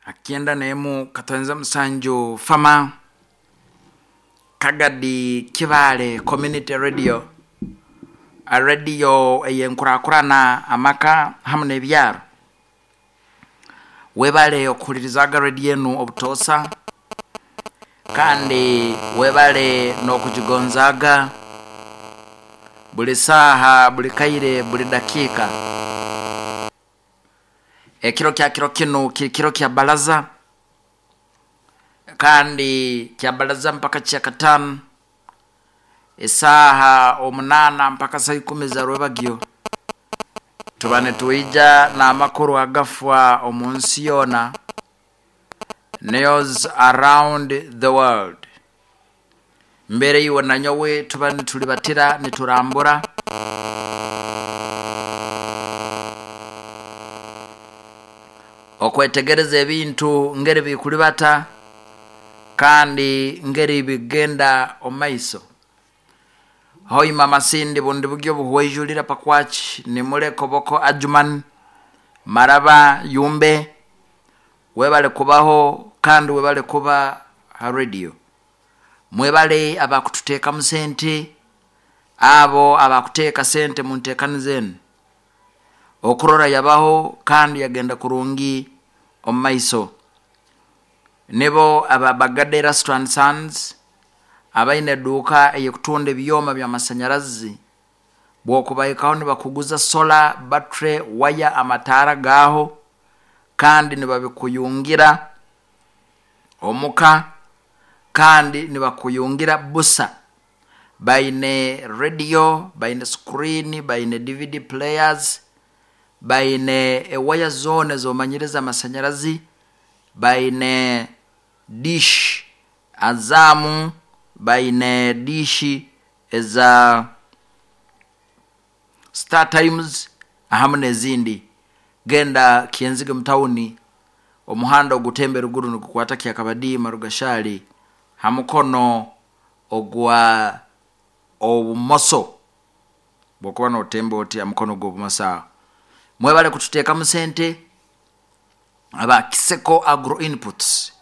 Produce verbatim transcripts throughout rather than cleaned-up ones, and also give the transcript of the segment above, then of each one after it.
Akienda nemu katonze musanju fama Kagadi Kibale Community Radio, a radio eyenkurakurana amaka hamu n'ebyaro. Webale okuhulirizaga radio enu obutosa, kandi webale n'okugigonzaga buli saaha, buli kaire, buli dakiika. Ekiro kya kiro kinu kiri kiro kya baraza, kandi kya baraza mpaka kya katano esaaha omunana mpaka saa ikumi za rwebagyo, tuba nitwija n'amakuru agafwa omu nsi yoona, news around the world. Mbere iwe na nyowe tuba nitulibatira niturambura okwetegereza ebintu ngeri bikulibata kandi ngeri bigenda omaiso. Hoima masindi bundi bugyo buhwejulira pakwaki nimule koboko Ajuman Maraba Yumbe, webale kubaho kandi webale kuba ha radio. Mwebale abakututeekamu sente, abo abakuteeka sente mu nteekani zenu okurora yabaho kandi yagenda kurungi omu maiso. Nibo aba Bagade Erasto and Sons abaine eduuka eyekutunda ebyoma by'amasanyarazi, bwokubaikaho nibakuguza solar, battery, waya, amataara gaaho, kandi nibabikuyungira omuka, kandi nibakuyungira busa. Baine radio, baine screen, baine D V D players, baine ewaya zoona ezomanyiriza amasanyarazi, baine dish azamu, baine dish eza Star Times ahamu n'ezindi. Genda Kyenzige mutawuni, omuhanda ogutembe ruguru nigukwata Kyakabadi Marugashali, ha mukono ogwa obumoso, bwokuba notemba oti ha mukono gw'obumoso aho. Mwebale kututeekamu sente aba Kiseko Agro Inputs.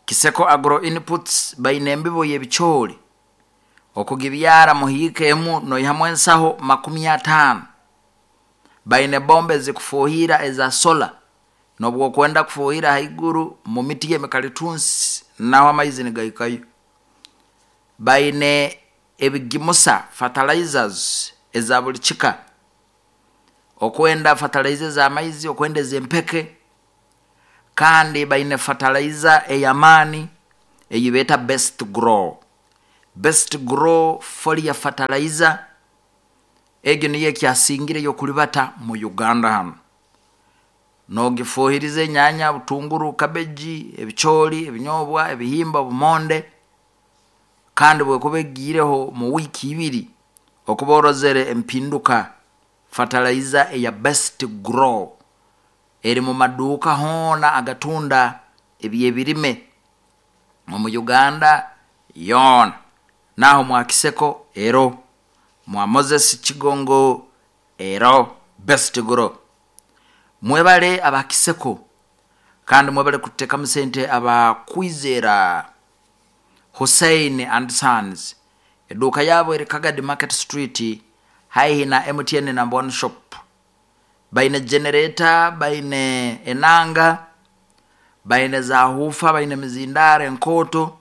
Kiseko Agro Inputs baine embibo y'ebicoori okugibyara muhiika emu noihamu ensaho makumi ataano. Baine bombe ezikufuhira eza sola, nobwokwenda kufuhira haiguru mu miti y'emikalitunsi naho amaizi nigaikayo. Baine ebigimusa fertilizers eza buli kika, okwenda fertilizer ez'amaizi, okwenda ez'empeke, kandi baine fertilizer ey'amaani eyibeeta Best Grow. Best Grow folia fertilizer egyo niyo ekyasingireyo okulibata mu Uganda hanu. Nogifuhiriza enyanya, butunguru, kabeji, ebicoori, ebinyobwa, ebihimba, obumonde, kandi bwekuba egiireho mu wiiki ibiri okuba orozere empinduka. Fertilizer eya Best Grow eri mu maduuka hoona agatunda eby'ebirime omu Uganda yoona. Naho mwa Kiseko ero, mwa Moses Kigongo ero, Best Grow. Mwebale aba Kiseko kandi mwebale kuteekamu sente aba Kwizera Hussein and Sons. Eduuka yabo eri Kagadi Market Street haihi na M T N number one shop. Baine generator, baine enanga, baine zahufa, baine mizindare enkoto,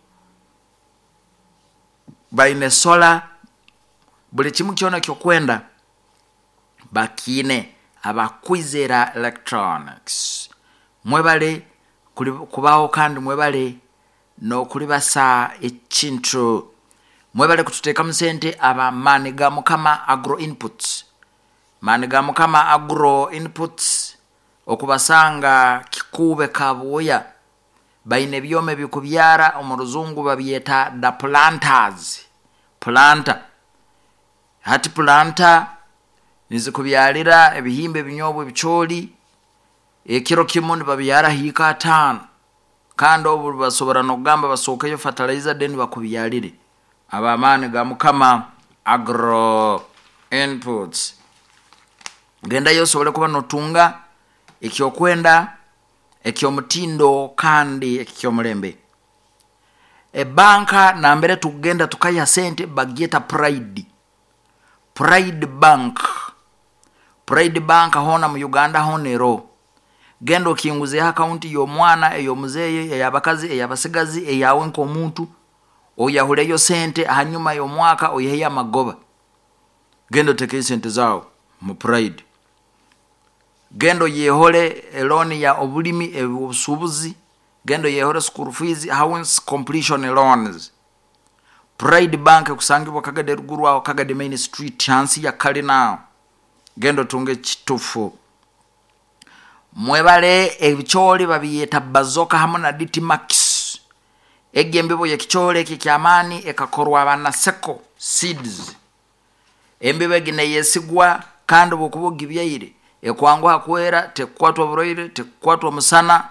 baine sola, buli kimu kyona kyokwenda bakine aba Kwizera Electronics. Mwebale kubaho kandi mwebale n'okulibasa ekintu. Mwebale kututeekamu sente aba Maani ga Mukama Agro Inputs. Maani ga Mukama Agro Inputs okubasanga Kikuube Kabuya, baine ebyoma ebikubyara omu ruzungu babyeta the planters. Planta hati planta nizikubyalira ebihimba, ebinyobwa, ebicoori, ekiro kimu nibabyara hiika ataano, kandi obu basobora n'okugamba basookeyo fertilizer then bakubyalire. Aba Maani ga Mukama Agro Inputs, gendayo osobole kuba notunga ekyokwenda eky'omutindo kandi eky'omulembe. Ebanka nambere tugenda tukaiha sente bagyeta Pride, Pride Bank. Pride Bank hoona mu Uganda hoona eroho. Genda okinguzeho akaunti y'omwana, ey'omuzeeyi, ey'abakazi, ey'abasigazi, eyawe nk'omuntu, oyahuleyo sente, hanyuma y'omwaka oiheyo amagoba. Genda otekeyo sente zaawe mu Pride. Genda oyehole elooni ya obulimi, obusuubuzi, genda oyehole school fees, house completion loans. Pride Bank ekusangibwa Kagadi eruguru aho Kagadi Main Street hansi ya kalina aho. Genda otunge ekitufu. Mwebale ebicooli babiyeta Bazoka hamu na D T Max. Egi embibo y'ekicooli eki eky'amaani ekakorwa abanaseko seeds. Embibo egi neyesigwa kandi obwokuba ogibyaire ekwanguha kwera, tekukwatwa burwaire, tekukwatwa musana,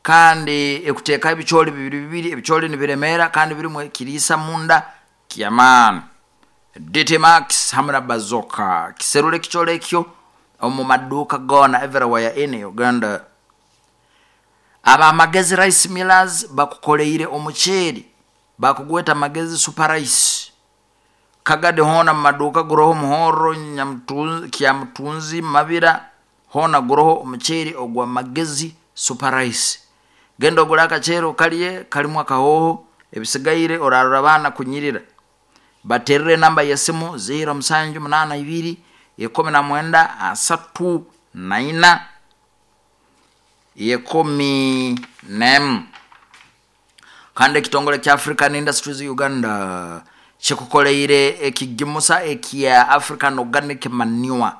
kandi ekuteekaho ebicooli bibiri bibiri, ebicooli nibiremeera kandi birimu ekiriisa munda ky'amaani. D T Max hamu na Bazoka. Kiserura ekicooli ekyo omu maduuka goona everywhere in Uganda. Abamagezi Rice Millers bakukoleire omuceeri, bakugweta Magezi Super Rice. Kagadi hoona mu maduuka guroho Muhorro, Nyamutunzi, Kyamutunzi, Mabira, hoona guroho omuceeri ogwa Magezi Super Rice. Genda ogule akaceeri okalye, kalimu akahooho, ebisigaire orarora abaana kunyirira. Baterere enamba y'esimu ziro musanju munaana ibiri ikumi na mwenda asatu na ina ikumi n'emu. Kandi ekitongole kya African Industries Uganda kikukoleire ekigimusa ekya African Organic Manure.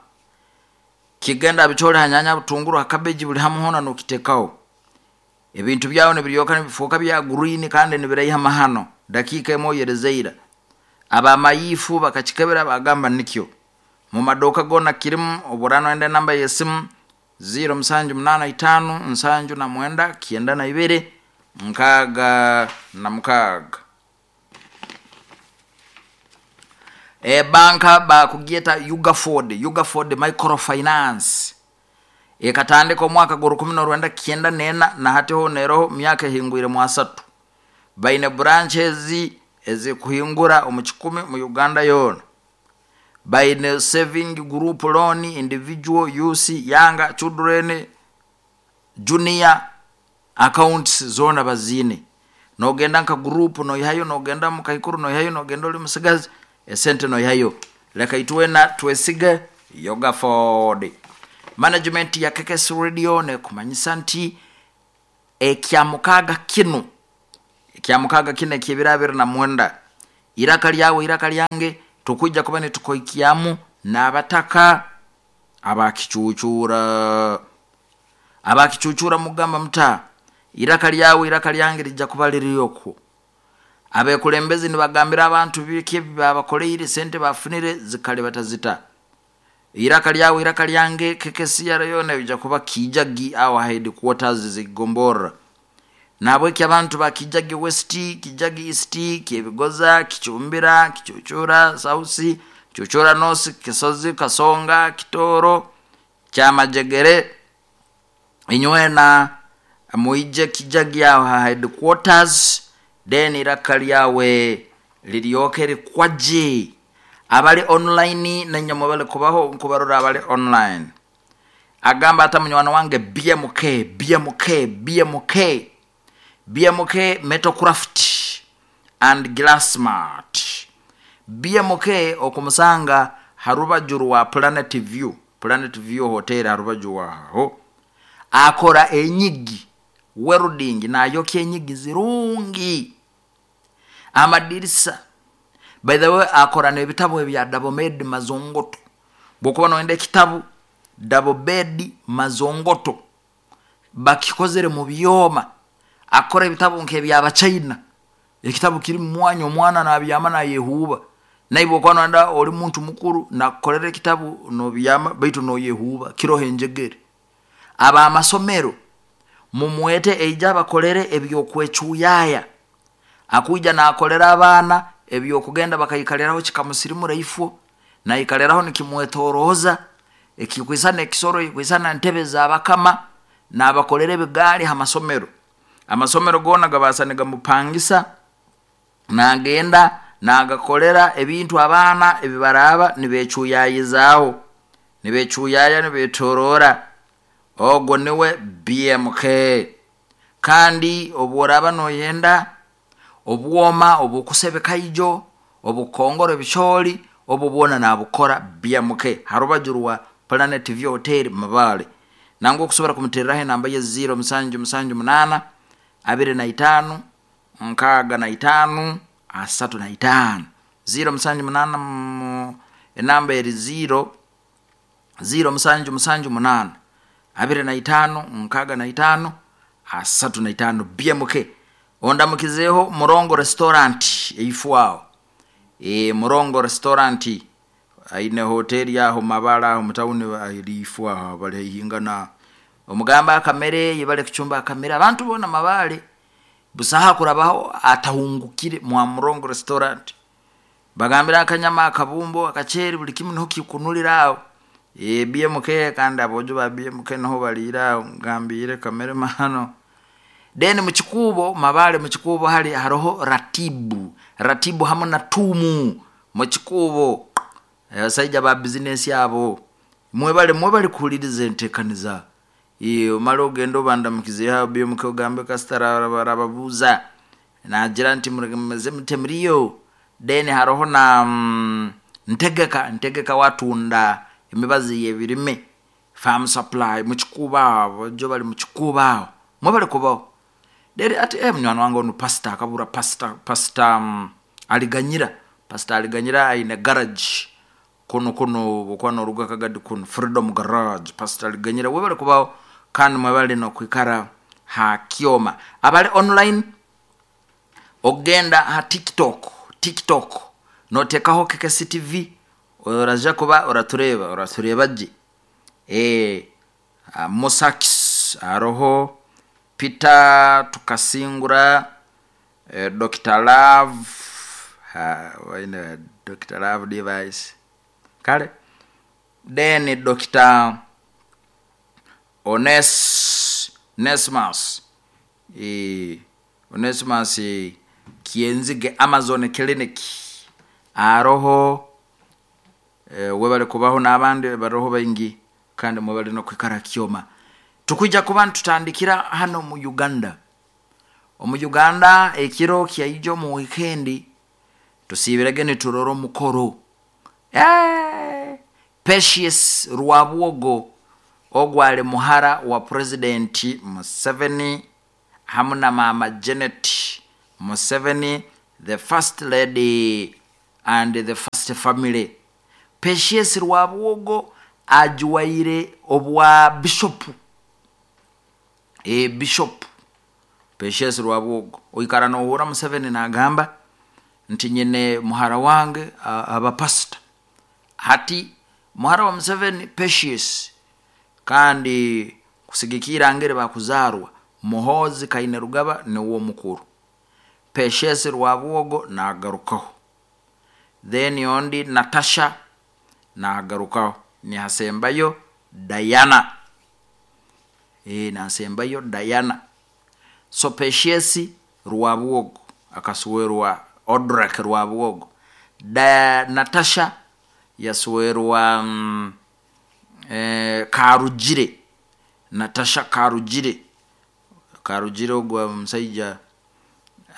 Kigenda bicooli ha nyanya, butunguru, ha cabbage, buli hamu hoona nokitekaho. Ebintu byawe nibiryoka nibifuuka bya green kandi nibiraiha mahano. Dakiika emwe oyerezeira. Abamayifu bakakikebera bagamba nikyo. Mu maduuka goona kirimu, oburano enda enamba y'esimu ziro musanju munaana itaano nsanju na mwenda kyenda na ibiri nkaaga na mukaaga. Ebanka bakugyeta Ugaford, Ugaford Microfinance. Ekatandika omwaka gwa rukumi n'orwenda kyenda n'ena na hati hoona eroho myaka ehingwire mu asatu. Baine branches ezikuhingura omu kikumi mu Uganda yoona. Baine saving group loan, individual, youth, younger, children, junior accounts zoona baziine. Nogenda nka group noihayo, nogenda mu kaikuru noihayo, nogenda oli musigazi esente noihayo. Leka itwena twesige Ugaford. Management ya K K S Radio nekumanyisa nti ekyamukaga kinu, ekyamukaga kinu ekyebiro abiri na mwenda, iraka lyawe iraka lyange tukujja kuba nitukoikiamu n'abataka abakicucura. Abakicucura mugamba muta iraka lyawe iraka lyange lijja kuba liriyokwo. Abekulembezi nibagambira abantu biki babakoleire sente bafunire zikale batazita. Iraka lyawe iraka lyange K K C R yona bijja kuba Kijagi awa headquarters zigombora. Nabweki abantu ba Kijagi West, Kijagi East, Kyebigoza, Kichumbira, Kichuchura, South, Kichuchura North, Kisozi, Kasonga, Kitoro, Kyamajegere, inywena muije Kijagi awa headquarters, then iraka lyawe liryoke likwaje. Abali online na nyamwe bali kubaho nkubarora abali online. Agamba ata munywana wange B M K, B M K, B M K, B M K Metalcraft and Glassmart. B M K okumusanga harubajuru wa Planet View, Planet View Hotel harubaju waho. Akora enyigi welding na yoki enyigi zirungi. Amadirisa. By the way, akora n'ebitabo ebya double bed mazongoto. Bwokuba noenda ekitabu double bed mazongoto bakikozere mu byoma. Akora ebitabo nk'ebyabachina. Ekitabu kiri mu mwanya omwana n'abyama nayehuba. Naye bwokuba noenda oli muntu mukuru nakukolera ekitabu nobyama baitu noyehuba kiroho enjegere. Aba amasomero mumwete eija abakolere ebyokwecuyaaya. Akuija nakolera abaana ebyokugenda bakaikaliraho kikamusirimu raifo naikaliraho nikimwetoroza ekikwisana ekisoro ikwisana ntebe za bakama N'abakolera ebigaali ha masomero, amasomero goona gabaasa nigamupangisa, nagenda nagakolera ebintu abaana ebibaraaba nibeecuyayizaaho, nibeecuyaya, nibeetoroora. Ogwo niwe B M K. Kandi obu oraaba nooyenda obwoma obukusebeka ijo, obukongora ebicooli, obu bwona naabukora B M K, ha rubaju rwa Planet View Hotel Mabale. Nangwa okusobora kumuterraho, enamba ye ziro musanju musanju munaana abiri na itaano nkaaga na itaano asatu na itaano, ziro musanju munaana mu, enamba eri ziro ziro musanju musanju munaana abiri na itaano nkaaga na itaano asatu na itaano, B M K. Ondamukizeeho Murongo Restaurant eifo e, Murongo Restaurant aine hoteri aho Mabale, aho mutawuni eri ifo aho, bali haihingana. Omugamba akamere yebale kucumba akamere. Abantu boona Mabale busaho kurabaho atahungukire mwa Murongo Restaurant. Bagambira akanyama, akabumbo, akaceeri, buli kimu niho kikunulira aho. e, B M K. Kandi aboojo ba B M K niho baliira aho, ngambire kamere mano. Then mukikuubo Mabale, mukikuubo hali haroho Ratibu, Ratibu hamu na Tumu mukikuubo, abasaija ba bizinesi abo. Mwebale, mwebale kuhuliriza entekaniza. Omale ogende obandamukizeeho B M K, ogambe kasita arababuuza nagira nti mumeze mute muriyo. Then haroho na mm, Ntegeka, Ntegeka watunda emibazi y'ebirime, Farm Supply mukikuubo aho, jo bali mukikuubo aho. Mwebale kubaho. Then ati eh, munywani wange onu pastor akabura, pastor pastor um, Aliganyira, Pastor Aliganyira aine garage kuno kuno bukwa noruga Kagadi kuno, Freedom Garage. Pastor Aliganyira, webale kubaho kandi mwebale nokwikara ha kyoma. Abali online, ogenda ha TikTok, TikTok notekaho K K C T V, oraja kuba oratureba, oratureba gye. e, Musakis, haroho Peter Tukasingura, eh, Doctor Love, ha, waine Doctor Love Device kale. Then Doctor Ones Nesmas, e, Onesimus Kienzige, Amazon Clinic aroho. e, webale kubaho n'abandi baroho baingi, kandi mwebale nokwikara kyoma. Tukwija kuba ntutandikira hano mu Uganda. Omu Uganda ekiro kyaijo mu wikendi tusiibirege niturora omukoro. Eh, Patience Rwabwogo ogwo ali muhara wa President Museveni hamu na mama Janet Museveni, the first lady and the first family. Patience Rwabwogo ajuwaire obwa bishop, e, Bishop Patience Rwabwogo. Oikara nohura Museveni nagamba nti nyine muhara wange aba pastor. Hati muhara wa Museveni Patience, kandi kusigikira ngere bakuzarwa, Muhozi Kaine Rugaba niwo mukuru, Patience Rwabwogo nagarukaho, then ondi Natasha nagarukaho, nihasembayo Diana, e, nasembayo Diana. So Patience Rwabwogo akaswerwa Odrek Rwabwogo, da Natasha yaswerwa mm, eh, Karugire, Natasha Karugire. Karugire ogwo omusaija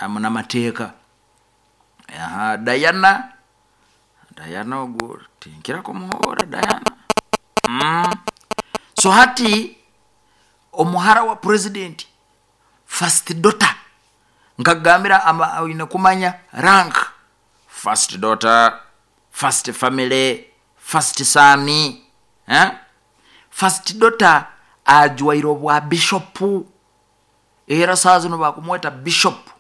amunamateeka. Aha, Diana, Diana ogwo tinkira kumuhora Diana. mm. so hati omuhara wa president, first daughter, nkagambira ama- oine kumanya rank: first daughter, first family, first son, eh? First daughter ajwaire obwa bishopu, era saa zino bakumweta Bishop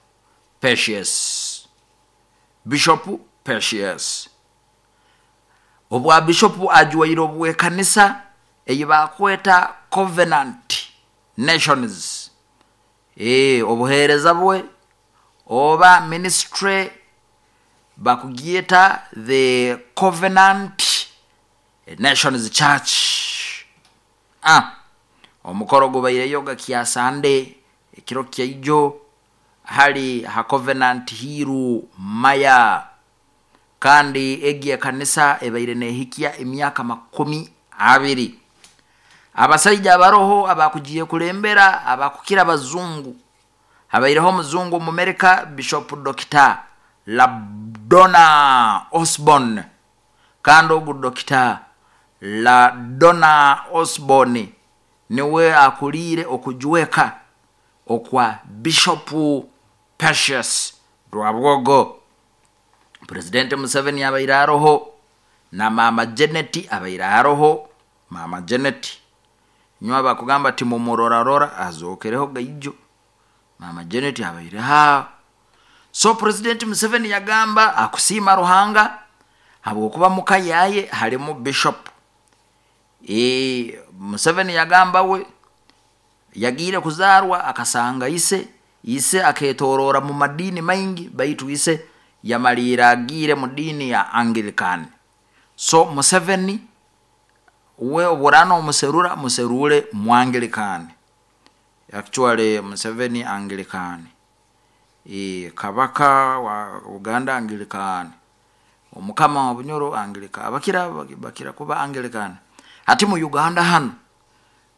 Patience, Bishop Patience. Obwa bishopu ajwaire obwekanisa eyi bakweta Covenant Nations. e, obuheereza bwe oba ministry bakugyeta the Covenant Nations Church. ah. Omukoro gubaireyo gakya Sande ekiro kyaijo hali ha Covenant Hill Maya, kandi egi ekanisa ebaire nehikya emyaka makumi abiri. Abasaija abaroho abakugiye kulembera abakukira abazungu, habaireho omuzungu Omumerika Bishop Doctor Labdona Osborne, kandi ogu Doctor Ladonna Osborne niwe akuliire okujweka okwa Bishop Patience Rwabwogo. President Museveni abaire aroho, na Mama Janet abaire aroho. Mama Janet nywe abakugamba ati mumurorarora azokereho gaijo, Mama Janet abaire aho. So President Museveni yagamba akusiima Ruhanga habwokuba muka yaye harimu bishop. E, Museveni yagamba we yagiire kuzarwa akasanga ise, ise aketorora mu madini maingi, baitu ise yamaliire agiire mu dini ya Anglican. So Museveni we oburana omuserura muserure mu Anglican. Actually Museveni Anglican, e, kabaka wa Uganda Anglican, omukama wa Bunyoro Anglican, abakira bakira kuba Anglican. Hati mu Uganda hano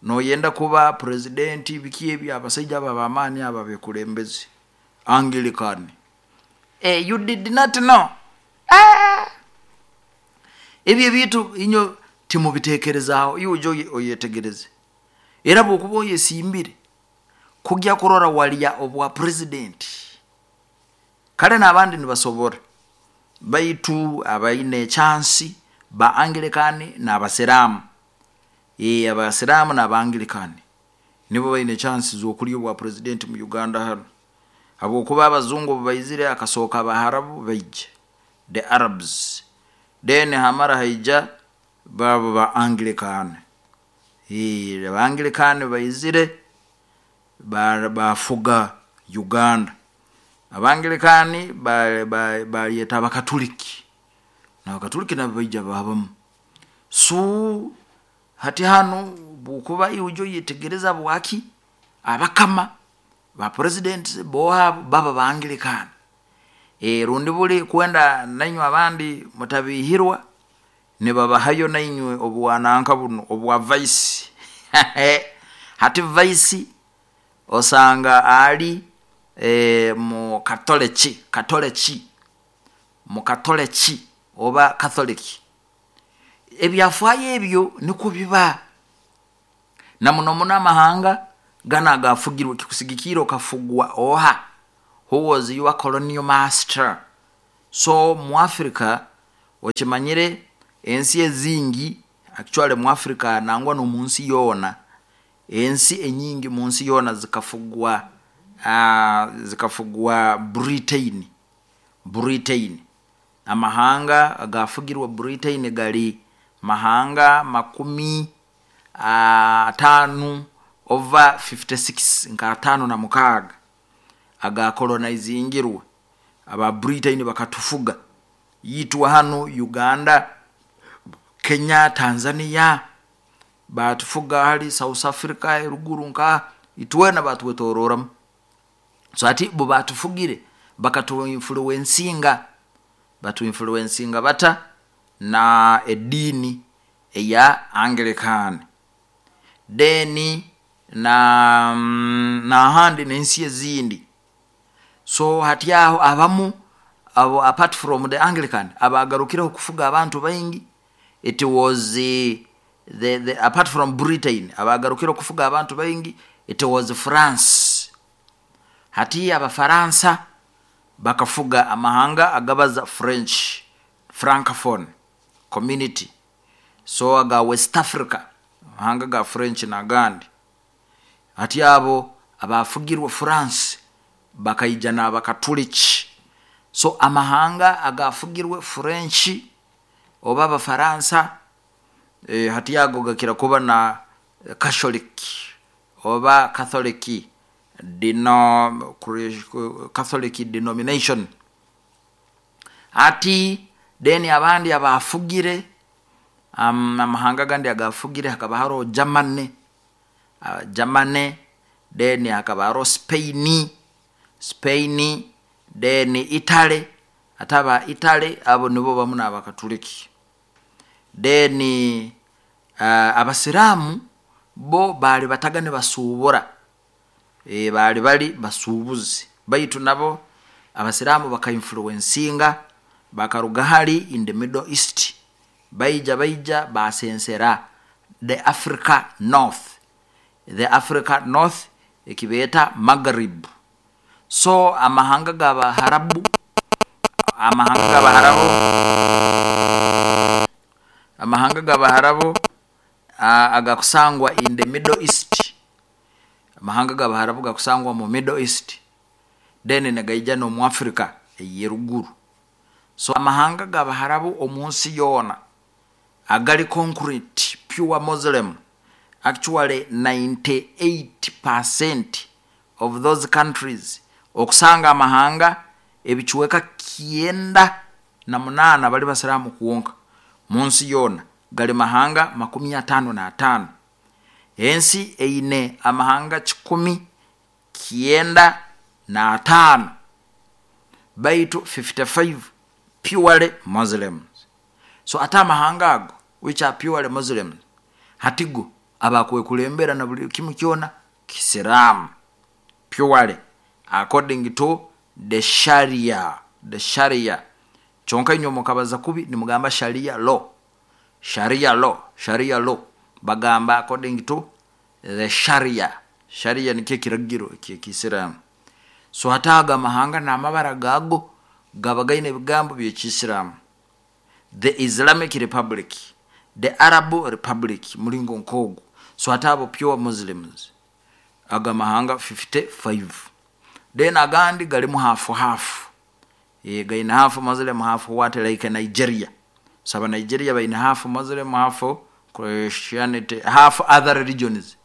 noyenda kuba president biki ebyo abasaija abo ab'amaani abo abekulembeze Anglican. Eh, you did not know. Ah! Ebyo ebintu inyo timubitekerezaaho, iwe ojye oyetegereze. Era bwokuba oyesimbire kujya kurora walya obwa president, kale n'abandi nibasobora, baitu abaine chansi ba Anglican n'abasiraamu. E, abasiraamu n'abangilikani nibo baine chansi z'okulya obwa president mu Uganda hano, habwokuba abazungu obu baizire akasooka abaharabu baija, the Arabs, then hamara haija babo ba Anglican. E, abangilikani baizire bafuga Uganda. Abangilikani bayeta abakatuliki, n'abakatuliki nabo baija babamu. So hati hanu bwokuba iwe ojya oyetegereza habwaki abakama ba president bo baba ba Anglican. E, rundi buli kwenda nainywe abandi mutabihirwa nibabahayo nainywe obwananka buno obwa vice. Hati vice osanga ali e, mu Katoliki, Katoliki, mu Katoliki oba Catholic. Ebyafaayo ebyo nikwo biba na muno muno amahanga gana agafugirwe kikusigikira okafugwa oha, who was your colonial master. So mu Africa okimanyire ensi ezingi actually mu Africa nangwa n'omunsi yoona, ensi enyingi munsi yoona zikafugwa, uh, zikafugwa Britain. Britain amahanga agafugirwe Britain gali mahanga makumi ataano over fifty six, nka ataano na mukaaga agakolonizingirwe aba Britain bakatufuga. Yitwa hano Uganda, Kenya, Tanzania batufuga, hali South Africa eruguru nka itwena batwetororamu. So ati bo batufugire bakatuinfluencinga, batuinfluencinga bata na edini eya Anglican. Then na nahandi n'ensi ezindi. So hati aho abamu abo apart from the Anglican abagarukireho kufuga abantu baingi, it was the, the, the apart from Britain abagarukireho kufuga abantu baingi it was France. Hati abafaransa bakafuga amahanga agabaza French, Francophone community. So aga West Africa amahanga ga French n'agandi. Hati abo abafugirwe France bakaija n'abakatuliki. So amahanga agafugirwe French oba abafaransa, e, hati ago gakira kuba na Catholic oba Catholic deno, Catholic denomination. Ati deni abandi abafugire um, amahanga gandi agafugire hakaba haro Germany. uh, Germany, then hakaba haroho Spain, Spain, then Italy. Ate aba Italy abo nibo bamu n'Abakatuliki. Then uh, Abasiraamu bo baali bataga nibasuubura, e, baali bali basuubuzi, baitu nabo Abasiraamu bakainfluencinga, bakaruga hali in the Middle East, baija baija basensera the Africa North, the Africa North ekibeeta Maghrib. So amahanga g'Abaharabu, amahanga g'Abaharabu, amahanga g'Abaharabu agakusangwa in the Middle East, amahanga g'Abaharabu gakusangwa mu Middle East, then negaija n'omu Africa ey'eruguru. So amahanga g'Abaharabu omu nsi yoona agali concrete pure Muslim, actually ninety-eight percent of those countries, okusanga amahanga ebicweka kyenda na munaana bali basiraamu kwonka mu nsi yoona, gali mahanga makumi ataano n'ataano. Ensi eine amahanga kikumi kyenda n'ataano, baitu fifty-five purely Muslims. So ate amahanga ago which are purely Muslims, hatigo abakwekulembera na buli kimu kyona kisiraamu purely according to the Sharia, the Sharia. Kyonka inywe mukabaza kubi nimugamba Sharia law, Sharia law, Sharia law bagamba according to the Sharia. Sharia nikyo ekiragiro eky'ekisiraamu. So ate ago amahanga n'amabara gago gaba gaine ebigambo by'ekisiraamu. The Islamic Republic, the Arab Republic, mulingo nk'ogwo. So ate abo pure Muslims, aga mahanga fifty-five. Then agandi galimu half half, e, gaine half Muslim half what, like Nigeria. So aba Nigeria baine half Muslim half Christianity, half other religions.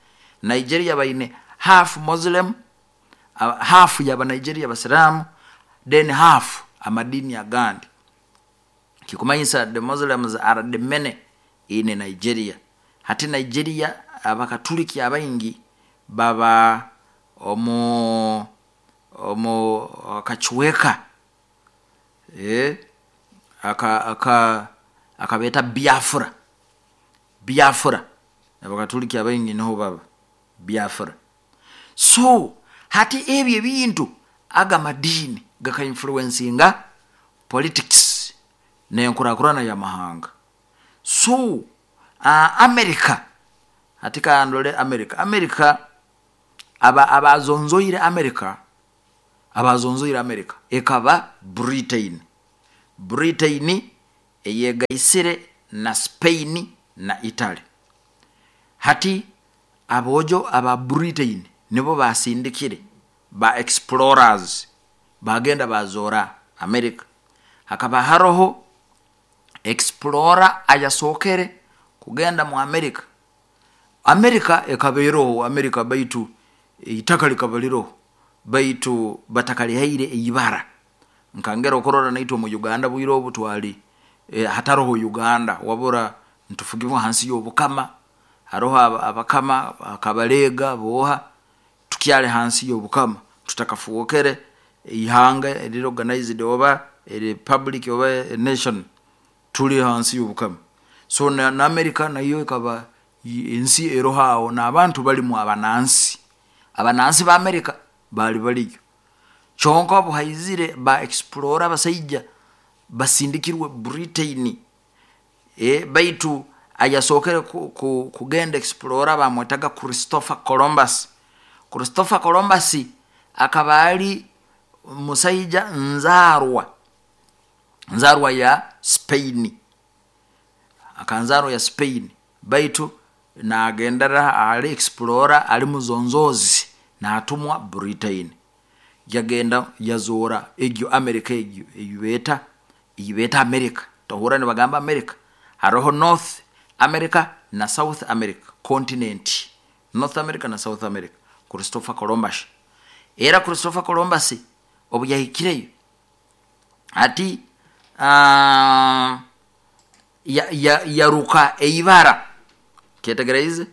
Nigeria baine half Muslim, uh, half yaba Nigeria basiramu, then half amadini agandi. Kikumanyisa the Muslims are the many in Nigeria. Hati Nigeria Abakatuliki abaingi baba omu omu kachweka, eh, aka aka akabeta Biafra, Biafra. Abakatuliki abaingi niho baba Biafra. So hati ebyo ebintu aga madini gaka influencinga politics n'enkurakurana y'amahanga. So uh, America, hati kandole America, America aba abazonzoire America, abazonzoire America ekaba Britain, Britain eyegaisire na Spain na Italy. Hati abojo aba Britain nibo basindikire ba explorers bagenda bazora America. Hakaba haroho explorer ayasokere kugenda mu America. America ekabeeroho America, baitu itaka likaba liroho, baitu batakalihaire eibara. Nkangera okurora naitwe mu Uganda bwire obu twali, e, hataroho Uganda, wabura ntufugibwa hansi y'obukama, haroho abakama akabalega boha, tukyali hansi y'obukama, tutakafuokere ihanga eriri organized oba republic oba nation, tuli hansi y'obukama. So na, na America nayo ekaba ensi eroho awo, n'abantu balimu abanansi, abanansi ba America bali baliyo. Kyonka obuhaizire ba explorer abasaija basindikirwe Britain, e, baitu ayasokere ku, ku, kugenda explorer bamwetaga Christopher Columbus. Christopher Columbus akaba ali musaija nzarwa, nzarwa ya Spain, akanzarwa ya Spain, baitu nagendera ali explorer ali muzonzozi natumwa Britain. Yagenda yazora egyo America, egyo eyibeta eyibeta America. Tohura nibagamba America, haroho North America na South America continent, North America na South America. Christopher Columbus, era Christopher Columbus obu yahikireyo ati uh, ya, ya, yaruka eibara, ketegereze,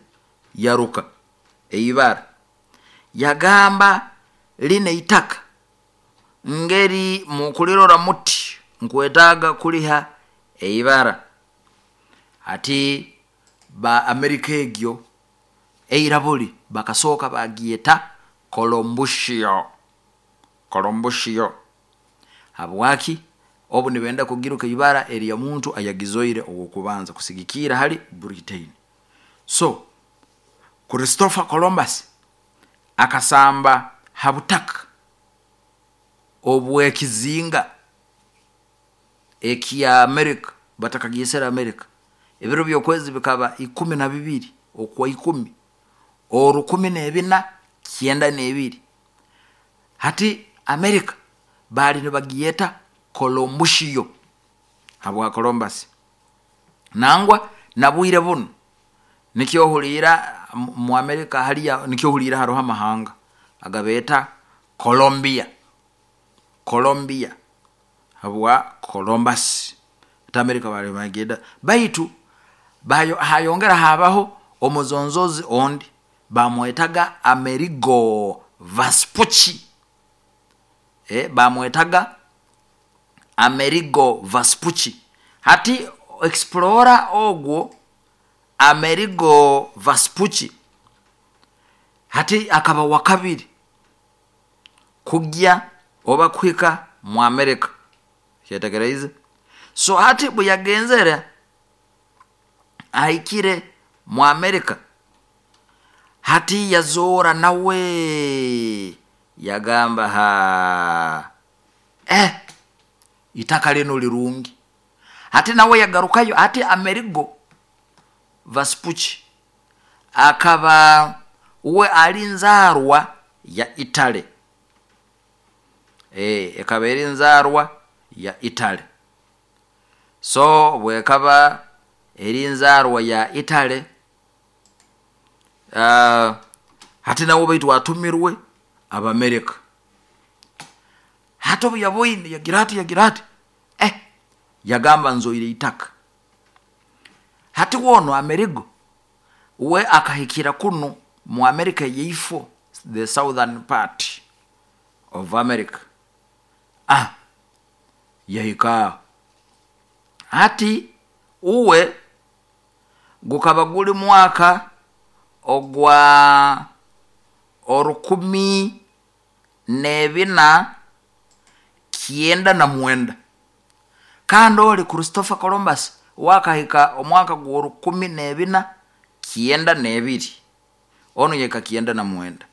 yaruka Eibara yagamba lina itaka ngeri mukulirora muti nkwetaaga kuliha eibara. Hati ba Amerika egyo eira buli bakasooka bagyeta Colombushio. Colombushio habwaki? Obu nibenda kugiruka ibara erya muntu ayagizoire owokubanza kusigikiira hali Britain. So Christopher Columbus akasamba ha butaka obwekizinga ekya America batakagyesere America. Ebiro byokwezi bikaba ikumi nabibiri okwa ikumi orukumi nebina kyenda nebiri. Hati America baali nibagyeta Colombushio habwa Columbus. Nangwa nabwire bunu nikyo ohuliira mu America haliya, nikyo ohuliira haroho amahanga agabeeta Colombia, Colombia habwa Columbus. Hati America baali nibagyeta, baitu hayongera habaho omuzonzozi ondi bamwetaga Amerigo Vespucci, e, bamwetaga Amerigo Vespucci. Hati explorer ogwo Amerigo Vespucci hati akaba wakabiri kugya oba kuhika mu America, kyetegereize. So hati bweyagenzere ahikire mu America, hati yazoora nawe yagamba ha eh, itaka linu lirungi. Hati nawe yagarukayo. Hati Amerigo Vespucci akaba we ali nzaarwa ya Italy, e, ekaba eri nzaarwa ya Italy. So bwekaba eri nzaarwa ya Italy, uh, hati nawe baitu atumirwe Abamerika. Hati obu yaboine yagira ati yagira ati eh, yagamba nzoire itaka. Hati wono Amerigo we akahikira kunu mu America yeifo, the southern part of America. Ah, yahika hati uwe gukaba guli mwaka ogwa orukumi nebina kyenda na mwenda, kandi oli Christopher Columbus wakahika omwaka gw'orukumi nebina kyenda nebiri, onu yeka kyenda na mwenda.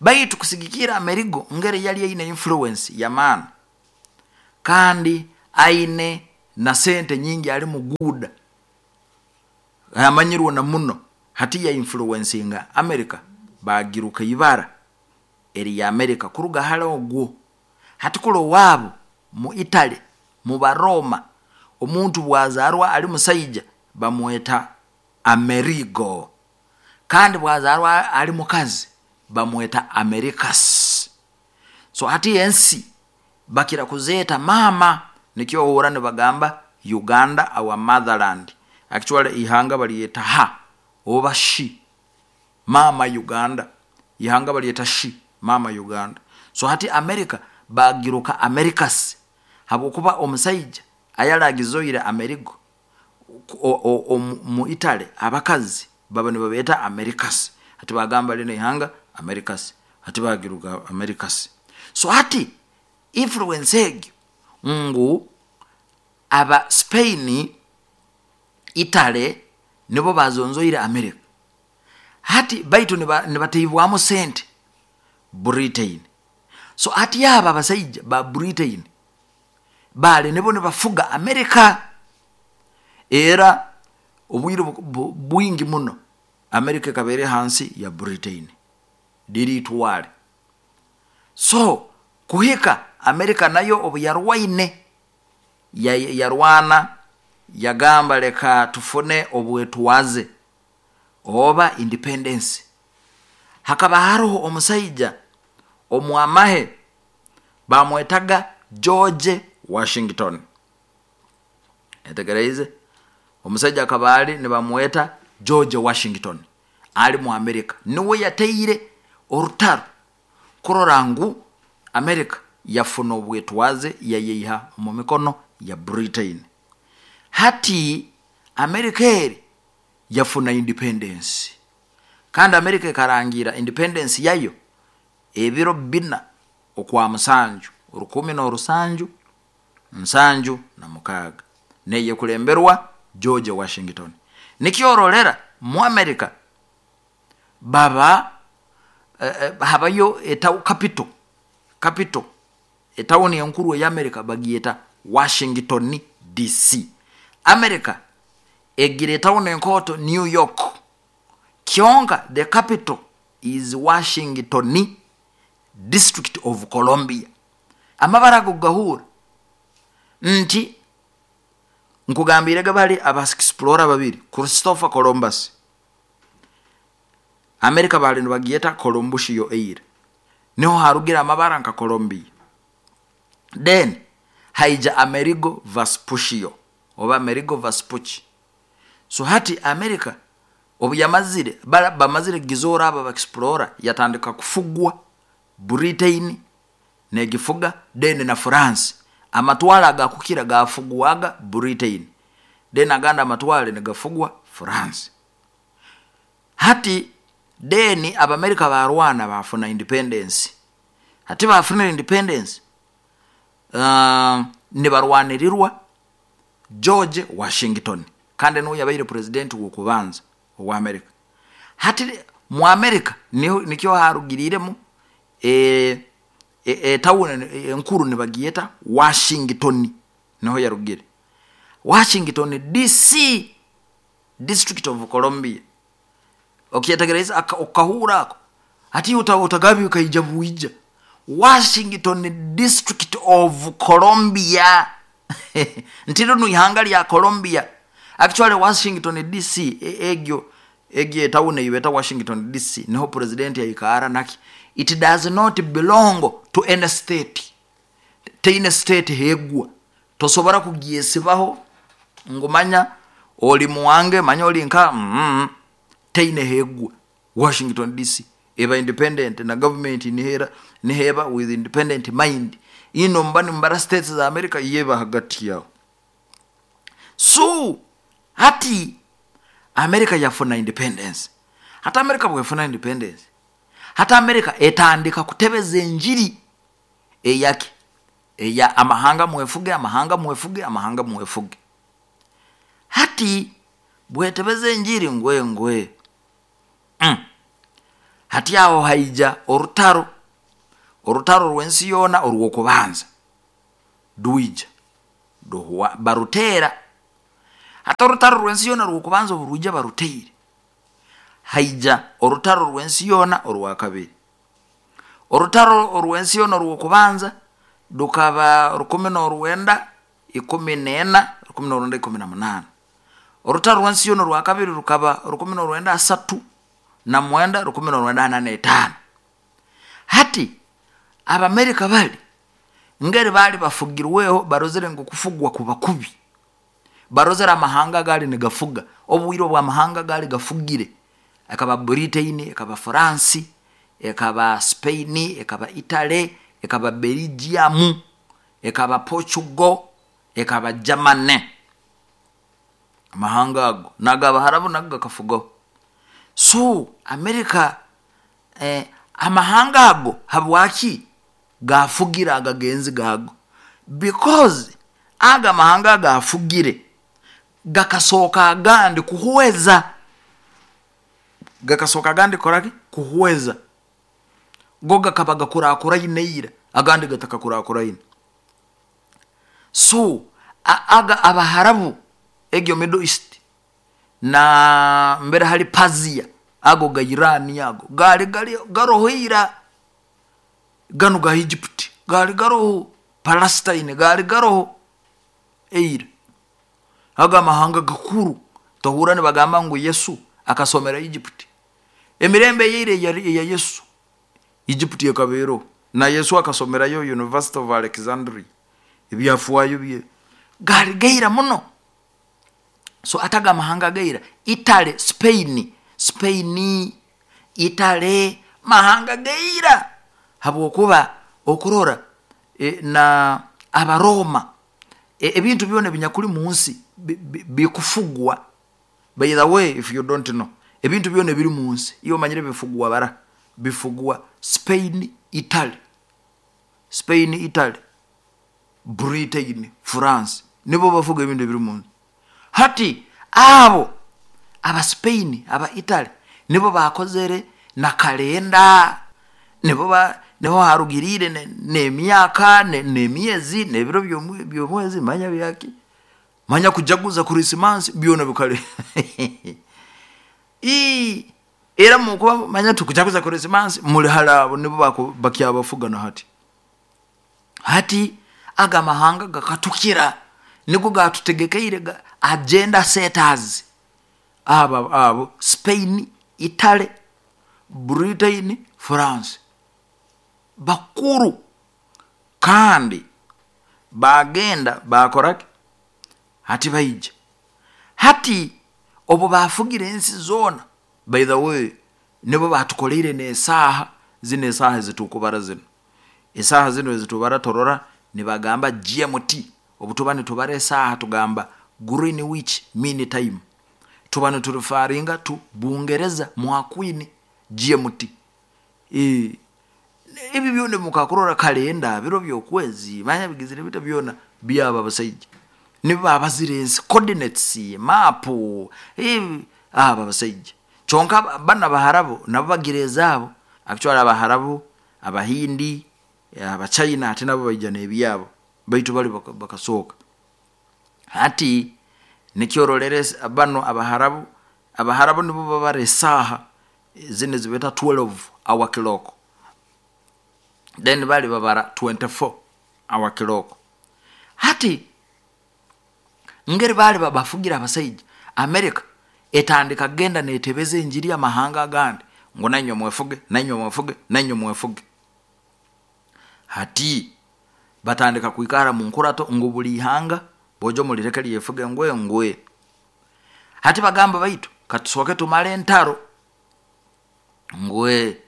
Baitu kusigikira Amerigo ngeri yali aine influence yamaani kandi aine na sente nyingi, ali muguuda amanyirwe na muno, hati ya influencinga America bagiruka ibara eri ya America kuruga hali ogwo. Hati kula owaabo mu Italy mu Baroma omuntu bwazarwa ali musaija bamweta Amerigo, kandi bwazarwa ali mukazi bamweta Americas. So hati ensi bakira kuzeeta mama, nikyo ohura nibagamba Uganda our motherland. Actually ihanga balyeta ha oba shi, mama Uganda, ihanga balyeta shi, mama Uganda. So hati America bagiruka Americas habwokuba omusaija ayaragizoire Amerigo mu Italy abakazi baba nibabeeta Americas. Hati bagamba lino ihanga Americas, hati bagiruka Americas. So hati influence egyo ngu aba Spain, Italy nibo bazonzoire America. Hati baitu nibateibwamu sente Britain. So hati aba abasaija ba Britain bali nibo nibafuga America. Era obwire bwingi muno America ekaba eri hansi ya Britain diritwale. So kuhika America nayo obu yarwaine yarwana yagamba leka tufune obwetwaze oba independence. Hakaba haroho omusaija omwamahe bamwetaga George Washington. Etegereize, omusaija akaba ali nibamweta George Washington, Ali mu Amerika niwe yateire orutaro kurora ngu Amerika yafuna obwetwaze, yayeiha omu mikono ya Britain. Hati Amerika eri yafuna independence, kandi Amerika ekarangira independence yayo ebiro bina okwa musanju rukumi n'orusanju nsanju na mukaaga, neyekulemberwa George Washington. Nikyo orolera mu Amerika baba eh, eh, habayo eta capital capital etawuni enkuru eya Amerika bagyeta Washington D C. Amerika egira etawuni enkooto New York, kyonka the capital is Washington, District of Columbia. Amabara ago gahura nti nkugambirege bali aba explorer babiri, Christopher Columbus. Amerika bali nibagyeta Columbusio eira, niho harugira amabara nka Columbia. Then haija Amerigo Vespucio oba Amerigo Vespucci. So hati Amerika obu yamazire bamazire kugizoora abo explorer, yatandika kufugwa Britain negifuga, then na France. Amatwale agakukira gafugwaga Britain, then agandi amatwale nigafugwa France. Hati then Abamerika barwana bafuna independence. Hati bafunire independence, uh, nibarwanirirwa George Washington, kandi niwe yabaire president wokubanza owa Amerika. Hati mu Amerika nikyo harugiriremu e, e, e, tawuni enkuru nibagyeta Washington, niho yarugire Washington D C, District of Columbia. Okyetegereza okahura ako, hati utagabi ukaija buija Washington District of Columbia, nti rinu ihanga lya Columbia. Actually Washington D C, egyo egyo etawuni eyibeta Washington D C niho president yaikara naki. It does not belong to any state, teine state hegwa, tosobora kugyesibaho ngu manya oli muwange, manya oli nka mm -hmm. Teine hegwa. Washington D C eba independent na government nihera niheba with independent mind ino mba nimbara states za America yeba hagati yao. So hati America yafuna independence. Hata America bwefuna independence, hata America etandika kutebeza enjiri eyake eya amahanga mwefuge, amahanga mwefuge, amahanga mwefuge. Hati bwetebeza enjiri ngwe ngwe mm. Hati aho haija orutaro orutaro rw'ensi yoona orw'okubanza rwija ruhwa barutera. Hati orutaro rw'ensi yoona orw'okubanza obu rwija baruteire, haija orutaro rw'ensi yoona orwakabiri. Orutaro orw'ensi yoona orw'okubanza rukaba rukumi n'orwenda ikumi n'ena, rukumi n'orwenda ikumi na munaana. Orutaro rw'ensi yoona orwakabiri rukaba rukumi n'orwenda asatu na mwenda, rukumi n'orwenda ana n'etaano. Hati Abamerika bali ngeri bali bafugirweho, barozere ngu kufugwa kuba kubi, barozere amahanga gali nigafuga. Obwire obwamahanga gali gafugire ekaba Britain, ekaba France, ekaba Spain, ekaba Italy, ekaba Belgium, ekaba Portugal, ekaba Germany. Amahanga ago nagabaharabu nago gakafugaho. So Amerika eh, amahanga ago habwaki gafugira agagenzi gago? Because aga amahanga gafugire gakasooka agandi kuhweza, gakasooka agandi koraki kuhweza, go gakaba gakurakuraine ira, agandi gatakakurakuraine. So a, aga Abaharabu egyo Middle East na mbere hali Pazia, ago ga Irani, ago gali gali garoho ira, ganu ga Egypt gali garoho, Palestine gali garoho eira. Aga amahanga gakuru tohura nibagamba ngu Yesu akasomera Egypt. Emirembe yeire eya Yesu Egypt ekabeero, na Yesu akasomerayo University of Alexandria. Ebyafwayo bye gali gaira muno. So ataga amahanga gaira, Italy, Spain. Spain, Italy, mahanga gaira, habwokuba okurora e, na Abaroma, e, ebintu byona ebinyakuli mu nsi bikufugwa. By the way, if you don't know, ebintu byona ebiri mu nsi iyo omanyire bifugwa bara bifugwa Spain, Italy, Spain, Italy, Britain, France, nibo bafuga ebintu ebiri mu nsi. Hati abo aba Spain, aba Italy nibo bakozere na kalenda, nibo ba niho harugirire n'emyaka n'emyezi n'ebiro by'omwezi, manya byaki, manya kujaguza Krismasi, byona bikale ii era mukuba manya tukujaguza Krismasi muli halabo, nibo bakyabafuga. Na hati hati aga mahanga gakatukira, nigo gatutegekeire agenda setters, aba abo Spain, Italy, Britain, France bakuru. Kandi bagenda bakoraki, hati baija hati obo bafugira ensi zona. By the way, nibo batukoleire n'esaaha zino, esaaha ezitukubara zino, esaaha zino ezitubara torora nibagamba G M T. Obu tuba nitubara esaaha tugamba Greenwich Mean Time, tuba niturefaringa tu Bungereza mwakwini G M T. E, ebi byona mukakurora kalenda biro by'okwezi manya bigizire bita byona byaba abasaija nibo babazire ensi, coordinates, map, ebi aba abasaija. Kyonka bana Abaharabu nabo bagira ezaabo. Actually Abaharabu, Abahindi, Abachina ate nabo baija n'ebyabo, baitu bali bakasooka. Hati nikyororere bano Abaharabu, Abaharabu nibo babara esaaha zino zibeta twelve hour clock, then bali babara twenty-four hour clock. Hati ngeri bali babafugira abasaija, America etandika genda netebeza enjiri y'amahanga agandi ngo nanywe mwefuge, nanywe mwefuge, nanywe mwefuge. Hati batandika kuikara mu nkurato ngo buli ihanga bojo mulireke lyefuge ngwe ngwe. Hati bagamba baitu katusoke tumale entaro ngwe.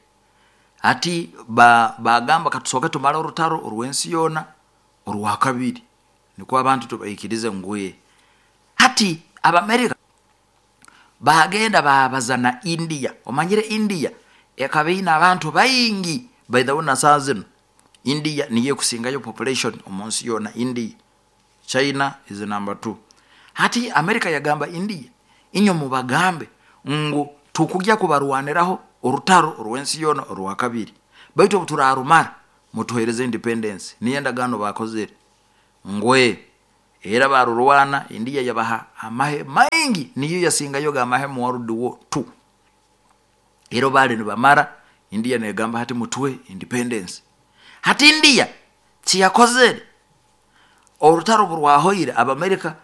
Hati ba, bagamba katusoke tumale orutaro orw'ensi yona orwa kabiri, niko abantu tubaikirize ngwe. Hati Abamerika bagenda babazana India. Omanyire India ekabeina abantu baingi. By the way, na saa zino India niye kusingayo population omunsi yona. India, China is number two. Hati Amerika yagamba India inyo mubagambe ngu tukujya kubarwaniraho orutaro orw'ensi yona orwa kabiri, baitu obuturarumara mutuhereze independence. Niyo endagaano bakozere ngwe. Era barurwana India yabaha amahe maingi, niyo yasingayo ga amahe mu World War two. Ero bali nibamara India negamba hati mutwe independence. Hati India kiyakozere orutaro burwahoire Abamerika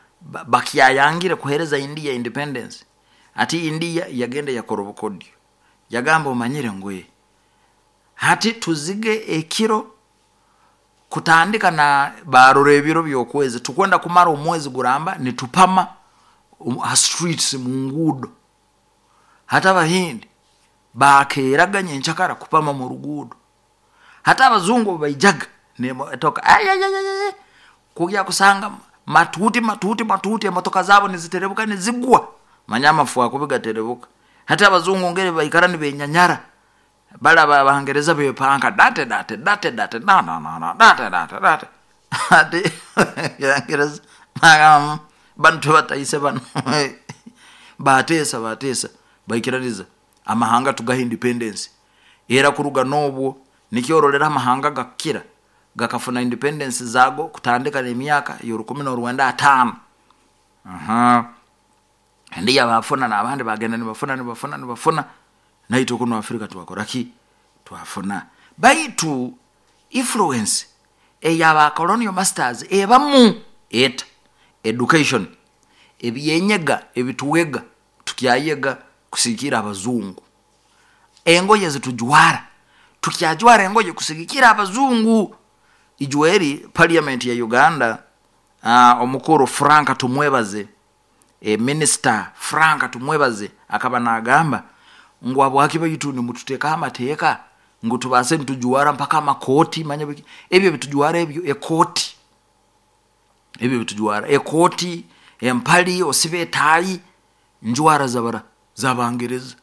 bakyayangire kuhereza India independence. Hati India yagenda yakora obukodyo, yagamba omanyire ngwe hati tuzige ekiro kutandika na barora ebiro by'okwezi, tukwenda kumara omwezi guramba nitupama ha streets mu ngudo. Hata Abahindi bakeraganye enchakara kupama mu rugudo. Hata abazungu baijaga nemotoka ayayayay kujya kusanga matuti matuti matuti emotoka zabo niziterebuka nizigwa manyama fuwa kubiga terebuka. Hata abazungu ngere baikara nibenyanyara bala Abangereza bepanka date date date date na na na na date date date. Hati Abangereza magam bantu bataise bano batesa batesa baikiraniza amahanga tugaha independence. Era kuruga nobwo nikyorolera amahanga gakira gakafuna independence zago kutandika n'emyaka y'orukumi n'orwenda ataano. Aha, ndiya bafuna n'abandi bagenda nibafuna nibafuna nibafuna, naitwe kuno Afrika twakora ki? Twafuna. Baitu influence eyaba colonial masters ebamu eta education ebyenyega ebituwega tukyayega kusikira abazungu, engoye zitujwara tukyajwara engoye kusigikira abazungu. Ijweri parliament ya Uganda, uh, omukuru Frank Tumwebaze, e, minister Frank Tumwebaze akaba nagamba Ngu habwaki baitu nimututekaho amateeka ngu tubaase nitujwara mpaka amakooti? Manya biki ebyo ebitujwara, ebyo ekooti, ebyo ebitujwara, ekooti, empali, osiba etaayi, njwara zabara zabangereza.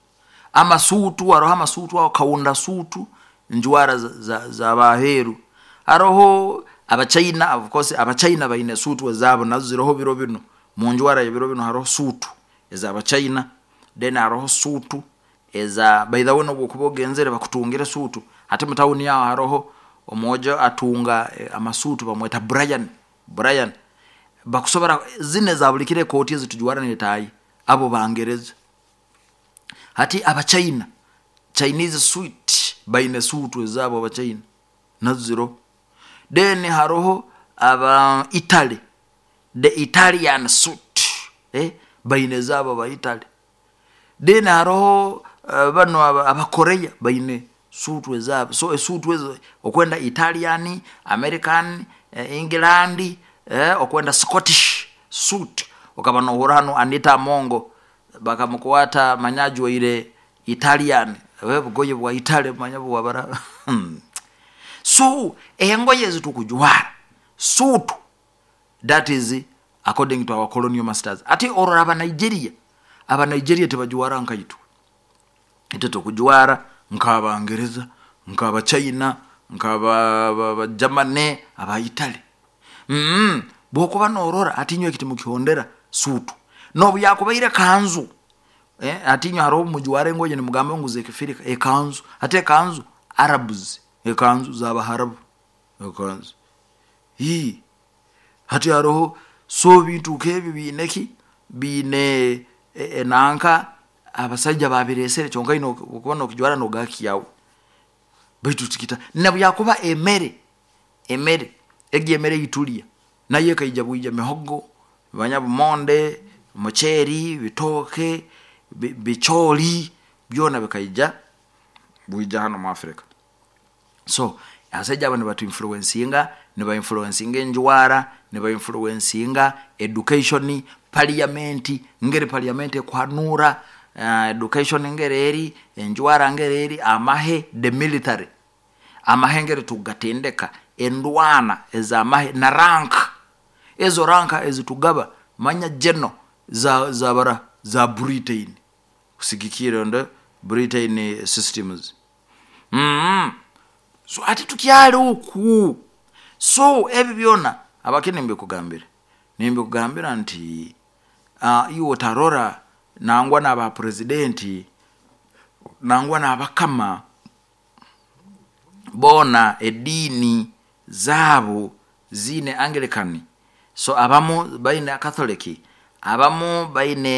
Amasuutu, haroho amasuutu aho, kaunda suutu, njwara zabaheeru. Haroho Abachina, of course Abachina baine suutu ezaabo, nazo ziroho biro binu. Munjwara yebiro binu haroho suutu ezabachina, then haroho suutu eza, by the way, nobu okuba ogenzere bakutungire suutu. Hati mu tawuni aho haroho omwojo atunga amasuutu, bamweta Brian. Brian bakusobora zinu eza buli kiro, ekooti ezitujwara netaayi, abo bangereza. Hati Abachina, Chinese suit, baine suutu ezaabo Abachina, nazo ziroho. Then haroho aba Italy, the Italian suit, eh, baine ezaabo aba Italy. Then haroho uh, banu Abakorea baine suutu ezaabo. So esuutu ezo, okwenda Italian, American, eh, England, eh, okwenda Scottish suit. Okaba nohurra hanu Anita Amongo bakamukwata manya ajwaire Italian, bugoye bwa Italy, manya bwabara. So engoye ezitukujwara, suutu, that is according to our colonial masters. Ati orora aba Nigeria, aba Nigeria tibajwara nkaitwe. Itwe tukujwara nk'Abangereza, nk'Abachina, nk'Abagermany, aba Italy. mm. Bwokuba norora ati inywe eki timukihondera suutu, nobu yakubaire kanzu, eh, ati inywe haroho mujwara engoye nimugamba ngu zekifirika, ekanzu. Ate ekanzu Arabs, ekanzu z'Abaharabu, ekanzu hii. Hati haroho, so bintu nkebi biine ki, biine enanka abasaija babiresere. Kyonka ine okuba nokijwara nogakyawe, baitu tikita. Nabu yakuba emere, emere egi, emere eyitulya nayo ekaija bwija, mihogo, manya bumonde, muceeri, bitooke, bicooli, byona bikaija bwija hanu mu Africa. So abasaija abo nibatu influencinga, niba influencinga enjwara, niba influencinga education, parliament, ngeri parliament ekuhanura, uh, education ngeri eri, enjwara ngeri eri, amahe, the military, amahe ngeri tugatendeka, endwana ezamahe na rank, ezo rank ezitugaba, manya geno za zabara za Britain, kusigikira nde Britain systems. mm -hmm. So ati tukyali oku. So ebi byona abake nimbikugambira, nimbikugambira nti uh, iwe otarora nangwa n'aba presidenti, nangwa n'abakama boona ediini zaabo ziine Anglican, so abamu baine Catholic, abamu baine